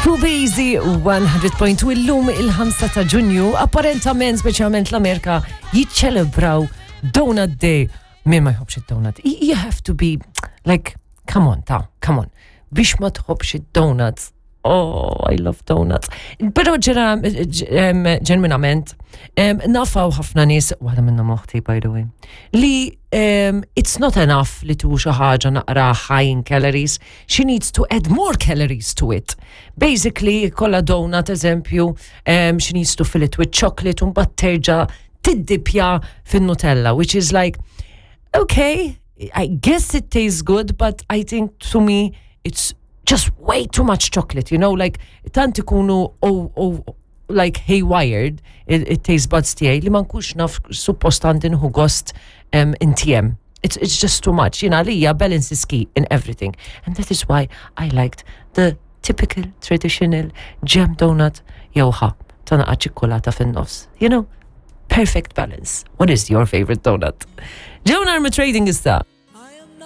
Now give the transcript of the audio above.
Fuq Easy 100.2 illum il-5 ta' Ġunju, apparentament speċjalment l-Amerika jiċċelebraw Donut Day. Min ma jħobbx id-donut? You have to be like, come on, ta' come on. Biex ma tħobbx id-donuts. Oh, I love donuts. Pero ġera, ġenwinament, nafaw ħafna nies, waħda minnhom oħti, by the way, li it's not enough li tu xi ħaġa naqra high in calories, she needs to add more calories to it. Basically, kolla donut, eżempju, she needs to fill it with chocolate, un bat terġa tiddipja fin-Nutella, which is like, okay, I guess it tastes good, but I think to me, it's just way too much chocolate, you know, like, tant ikunu oh, oh, like haywired it-taste buds tiegħi li ma nkunx naf suppost għandi nħu gost intiem. It's just too much. Jina għalija balance is key in everything. And that is why I liked the typical traditional jam donut jew ħa ta' naqa ċikkulata fin-nofs. You know, perfect balance. What is your favorite donut? Ġew narmu trading issa.